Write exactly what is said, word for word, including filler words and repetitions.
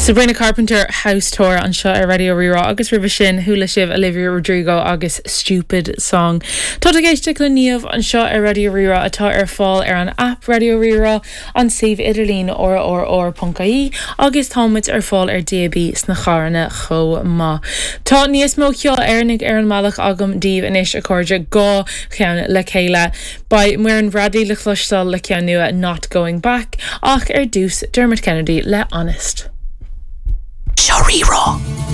Sabrina Carpenter House Tour anseo ar Raidió Rí-Rá agus roimhe sin chuala sibh Olivia Rodrigo agus Stupid Song. Tá ag éisteacht le Niamh anseo ar Raidió Rí-Rá atá ar fáil ar an app Raidió Rí-Rá an suíomh idirlín rrr.ie agus táimid ar fáil ar DAB sna carranna chomh maith. Tá níos mó ceol Éireannach ar an mbealach agam daoibh anois a chairde dhá cheann le chéile. Beidh Muireann Bradley le cloisteáil le ceann nua Not Going Back ach ar dtús Dermot Kennedy le Honest. Seo Rí-Rá.